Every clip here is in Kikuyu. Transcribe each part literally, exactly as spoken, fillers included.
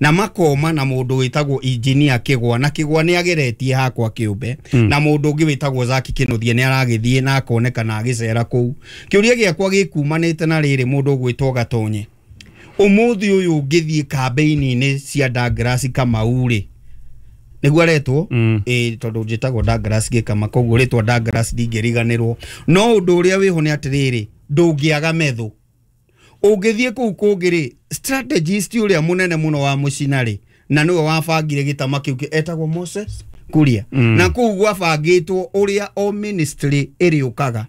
Na makoma na mũndũ wĩtagwo engineer Kĩgwa, na Kĩgwa nĩ ageretie hakwa kĩũmbe, mm. na mũndũ ũngĩ wĩtagwo Zaki Kĩnuthia nĩ aragĩthiĩ na akoneka na agĩcera kũu. Kĩũria gĩakwa gĩkumanĩte na rĩrĩ, mũndũ ũgwĩtwo Gatonye, ũmũthĩ ũyũ ũngĩthiĩ kambĩini-inĩ cia Douglas Kamau rĩ, nĩguo aretwo, Mm. ĩ tondũ njĩtagwo Douglas Gĩkama, koguo rĩtwa Douglas ndingĩriganĩrwo. No ũndũ ũrĩa wĩho nĩ atĩrĩrĩ, ndũngĩaga methũ ũngĩthiĩ kũu kũngĩ rĩ, strategist ũrĩa mũnene mũno wa mũcina rĩ, na nĩwe wabangire gĩtama kĩu kĩ- etagwo Moses Kuria. Mm. Na kũu gwabangĩtwo ũrĩa o ministry ĩrĩũkaga,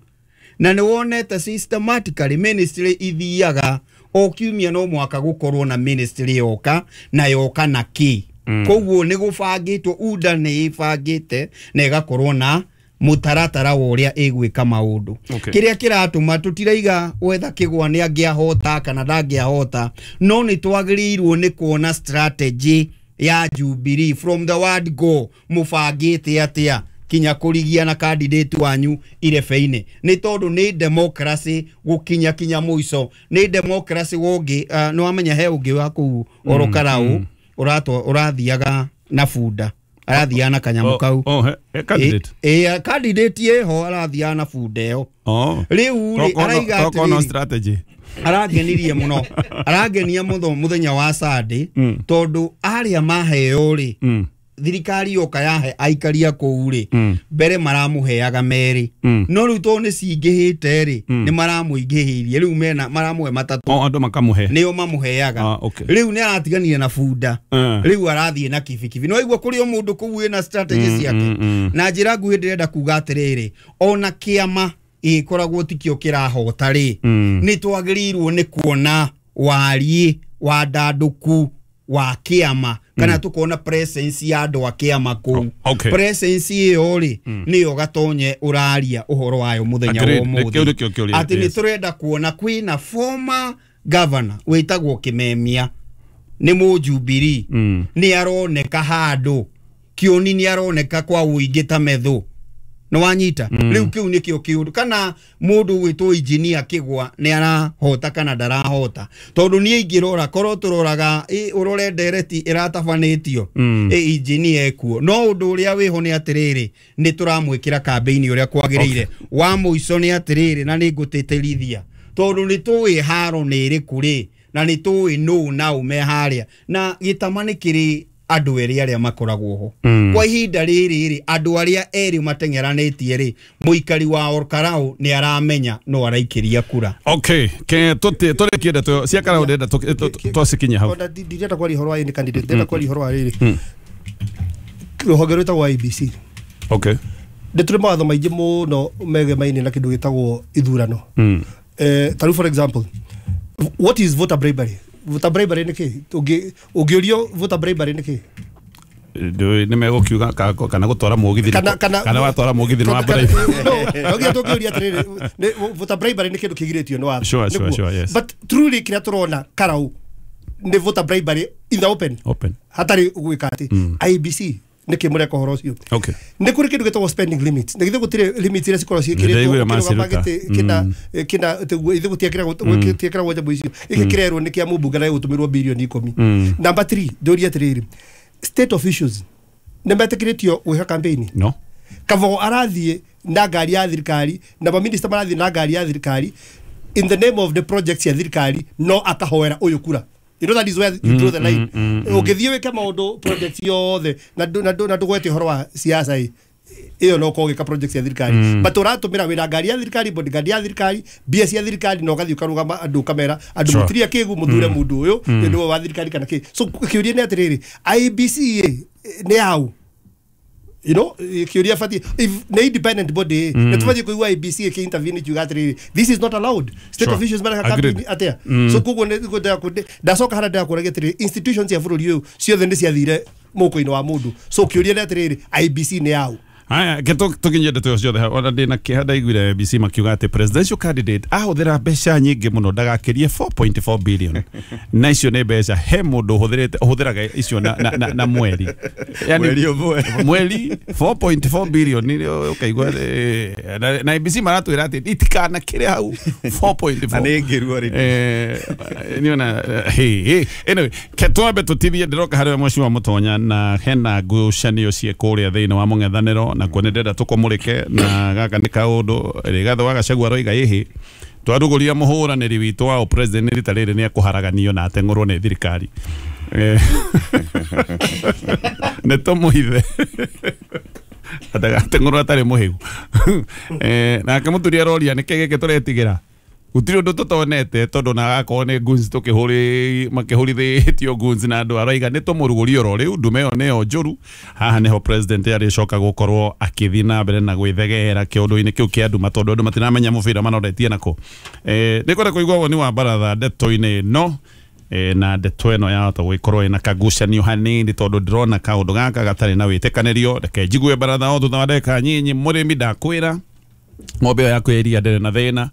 na nĩ wonete systematically ministry ithiaga o kiumia, no mwaka gũkorwo na ministry yoka na yoka na kĩ. Mm. Koguo nĩ gũbangĩtwo, U D A nĩ ĩbangĩte na ĩgakorwo na mũtaratara wa ũrĩa ĩgwĩka maũndũ. Okay. Kĩrĩa kĩratũma tũtiraiga wetha Kĩgwa nĩ angĩahota kana ndangĩahota, no nĩ twagĩrĩirwo nĩ kuona strategy ya Jubilee from the word go, mũbangĩte atĩa kinya kũrigia na candidate wanyu irebe-inĩ, nĩ tondũ nĩ democracy gũkinya kinya mũico, nĩ democracy wongĩ. uh, nĩ wamenya he ũngĩ wa kũu oro Karau ũratwa ũrathiaga na bunda, arathiaga na kanyamũ kau. Oh, he, he candidate. Ĩ ĩ, candidate ĩho arathiaga na bunda ĩyo. Oh. Rĩu rĩ, araiga Toko no atĩrĩrĩ, strategy. arangenirie mũno, arangenia mũno mũthenya wa Sunday, Mm. tondũ arĩa maheo rĩ, Mm. thirikari yoka yahe aikaria kũu rĩ, Mm. mbere maramũheaga merĩ, Mm. no rĩu tondũ nĩ cingĩhĩte rĩ, Mm. nĩ maramũingĩhĩirie, rĩu mena maramũhe matatũ. Oh, andũ makamũhe. Nĩo mamũheaga. Ah, okay. Rĩu nĩ aratiganire na bunda, Eh. rĩu arathiĩ na kibikibi. No igua kũrĩ o mũndũ kũu wĩna strategy Mm, ciake. mm, mm. Na njĩra nguhĩ ndĩrenda kuga atĩrĩrĩ, ona kĩama ĩkoragwo tikĩo kĩrahota rĩ, Mm. nĩ twagĩrĩirwo nĩ kuona wariĩ wa ndandũku wa kĩama kana tukona presence ya andũ a kĩama kũu. Oh, okay. Presence ĩyo rĩ, nĩyo Gatonye ũraria ũhoro wayo mũthenya wa Agreed. ũmũthĩ, Kĩu nĩkĩo kĩũria, atĩ nĩ yes. tũrenda kuona kwĩna former governor wĩtagwo Kĩmemia, nĩ mũjubilee, Mm. nĩ aroneka handũ kĩoni, nĩ aroneka kwa ũingĩ ta methũ, nĩ wanyita. Rĩu kĩu nĩkĩo kĩũndũ, kana mũndũ gwĩtwo engineer Kĩgwa nĩ arahota kana ndarahota, tondũ niĩ ingĩrora korwo tũroraga ĩ, ũrore ndereti ĩratabanĩtio, Mm. ĩ engineer ekuo. No ũndũ ũrĩa wĩho nĩ atĩrĩrĩ, nĩ tũramwĩkĩra kambĩini ũrĩa kwagĩrĩire. Wa mũico nĩ atĩrĩrĩ, na nĩ ngũtĩtĩrithia, tondũ nĩ tũĩ haro nĩ ĩrĩkũ rĩ, na nĩ tũĩ nũ na ũ me harĩa, na gĩtama nĩ kĩrĩ andũ erĩ arĩa makoragwo ho. Mm. Kwa ihinda rĩrĩ rĩ, andũ arĩa erĩ mateng'eranĩtie rĩ, mũikari wa Olkarau nĩ aramenya no araikĩria kura. Okay, ke tũti tũrĩkie ndeto cia Karau, ndĩrenda tũ- twacikinya hau. Ona ndi- ndirenda kwaria ũhoro wa any candidate, ndĩrenda kwaria ũhoro wa rĩrĩ rũhonge rwĩtagwo I E B C. Okay. Nĩ tũrĩ mawatho maingĩ mũno megemaine na kĩndũ gĩtagwo ithurano. Mm. Eh, ta rĩu, for example, what is voter bribery? Voter bribery nĩ kĩ? Ũngĩ- ũngĩũrio voter bribery nĩ kĩ? Ndũĩ nĩ megũkiuga ka- kana gũtwara mũgithi, kana kana kana watwara mũgithi nĩ wa kana- bribe. No, no nginya tũngĩũria atĩrĩrĩ, nĩ- voter bribery nĩ kĩndũ kĩgirĩtio nĩ watho. Sure, sure, Nĩguo. sure, yes. But truly kĩrĩa tũrona Karau nĩ voter bribery in the open, Open. hatarĩ gwĩka atĩ. I E B C, nĩkĩ mũreka ũhoro ũcio? Okay. Nĩ kũrĩ kĩndũ gĩtagwo spending limit, na githĩ gũtirĩ limit iria cikoragwo Nĩndaiguire ciĩkĩrĩtwo maciruta. ũkĩrũgama gĩtĩ kĩna kĩna tĩguo ithe gũtiekĩragwo gũtiekĩragwo nyamũ icio, gĩkĩ kĩrerwo nĩ kĩa mũmbunge na gĩgũtũmĩrwo birioni ikũmi. Number three, ndũrie atĩrĩrĩ, state officials nĩ metĩkĩrĩtio gwĩka campaign? No. Kavogo arathiĩ na ngari ya thirikari, na maminista marathiĩ na ngari ya thirikari in the name of the project ya thirikari, no akahoera ũyũ kura. You know, that is where you draw the line. Ũngĩthiĩ wĩke maũndũ project yothe na ndũ- na ndũ- na ndũgwete ũhoro wa siasa ĩ, ĩyo no ũkorwo ũgĩka project ya thirikari, but ũratũmĩra wĩra ngari ya thirikari, bodyguard ya thirikari, mbia cia thirikari, na ũgathiĩ ũkarũgama andũ ũkamera andũ, Sure. mũtiria kĩgu mũthure mũndũ ũyũ nĩ ũndũ wa thirikari kana kĩ. So kĩũria nĩ atĩrĩrĩ, I E B C ĩ nĩ yaũ? You know, kĩũria batiĩ, if nĩ independent body, nĩ tũbatiĩ kũigua I E B C ĩkĩ intervene ikiuga atĩrĩrĩ, this is not allowed. State Sure. officials mareka Agreed. campaign atĩa? So koguo nĩ ngwendaga kũ- ndacoka harĩa ndĩrakũragia atĩrĩrĩ, institutions cia bũrũri ũyũ ciothe nĩ ciathire mũhuko-inĩ wa mũndũ. So kĩũria nĩ atĩrĩrĩ, I E B C nĩ yaũ? Haya, ke tukinye ndeto ciothe ona ndina kĩeha ndaiguire A B C makiuga atĩ presidential candidate ahũthĩra mbeca nyingĩ mũno ndagakĩrie four point four billion. Na icio nĩ mbeca he mũndũ ũhũthĩrĩte ũhũthĩraga icio na, na, na, na mweri. Yani, mweri ũmwe. Mweri four point four billion nĩ ũkaigua na, na A B C maratwĩra atĩ itikanakĩre hau four point four. Na nĩ ngĩru already. Eh, niona hey, hey. Anyway, ke twambe tũtithie ndĩroka harĩ mheshimiwa Mũtonya na hena ngucanio ciĩ kũrĩa thĩinĩ wa mũng'ethanĩro na kuo nĩ ndĩrenda tũkũmũrĩke na gaka nĩ kaũndũ Rigathĩ wa Gachagua aroiga ĩhĩ twarugũria mũhũranĩri witũ wa president rita rĩrĩ nĩ ekũharaganio na ateng'ũrwo nĩ thirikari. Nĩ tũmũithe atagateng'ũrwo atarĩ mũhĩgu. Nake mũturi aroria nĩkĩ gĩkĩ tũretigĩra gũtirĩ ũndũ tũtonete tondũ na gakorwo nĩ guns tũkĩhũri makĩhũrithĩtio guns na andũ araiga nĩ tũmũrugũrie oro rĩu ndume ĩyo nĩyo njũru. Haha nĩho president arĩcoka gũkorwo akĩthiĩ na mbere na gwĩthegera kĩũndũ-inĩ kĩu kĩa nduma tondũ andũ matiramenya mũbira manoretie nako. Eh, nĩngwenda kũigua woni wa baratha ndeto-inĩ ĩno eh, na ndeto ĩno yahota gũgĩkorwo ĩna kagucanio hanini tondũ ndĩrona kaũndũ gaka gatarĩ na wĩtĩkanĩrio. Reke njigue baratha o thutha wa ndagĩka nyinyi. Mũrĩmi ndakwĩra ng'ombe ĩyo yaku ya iria ndĩrĩ na thĩna,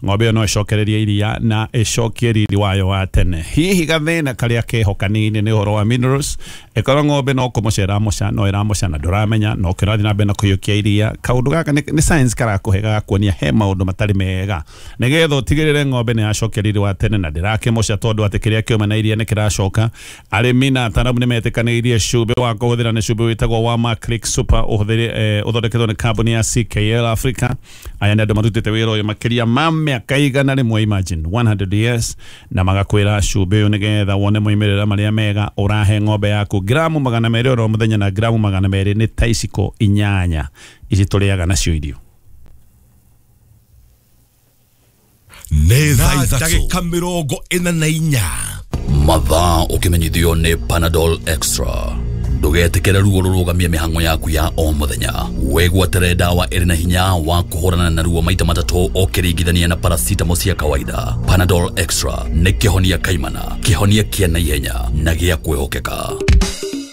ng'ombe ĩyo no ĩcokererie iria na ĩcokie riri wayo wa tene. Hihi gathĩna karĩa keho kanini nĩ ũhoro wa minerals, ĩkorwo ng'ombe no kũmũca ĩramũca no ĩramũca na ndũramenya no kĩrathiĩ na mbere na kũiyũkia iria. Kaũndũ gaka nĩ science karakũhe gagakuonia he maũndũ matarĩ mega nĩgetha ũtigĩrĩre ng'ombe nĩ yacokia riri wa tene na ndĩrakĩmũca tondũ atĩ kĩrĩa kĩuma na iria nĩ kĩracoka. Arĩmi na ataramu nĩ metĩkanĩirie cumbĩ wa kũhũthĩra nĩ cumbĩ wĩtagwo wa Maclick Super ũhũthĩre ũthondeketwo nĩ kambuni ya C K L Africa. Aya nĩ andũ marutĩte wĩra ũyũ makĩria ma mĩaka igana rĩmwe, imagine one hundred years, na magakwĩra cumbĩ ũyũ nĩgetha wone moimĩrĩra marĩa mega ũrahe ng'ombe yaku gramu magana merĩ oro mũthenya na gramu magana merĩ nĩ ta iciko inyanya ici tũrĩaga nacio irio. Nĩ thaa ithatũ mĩrongo ĩna na inya mathaa ũkĩmenyithio nĩ Panadol Extra. Ndũgetĩkĩre ruo rũrũgamie mĩhang'o yaku ya o mũthenya. Wĩgwatĩre dawa ĩrĩ na hinya wa kũhũrana na ruo maita matatũ ũkĩringithania na paracetamol cia kawaida. Panadol Extra nĩ kĩhonia kaimana, kĩhonia kĩa naihenya na gĩa kwĩhokeka.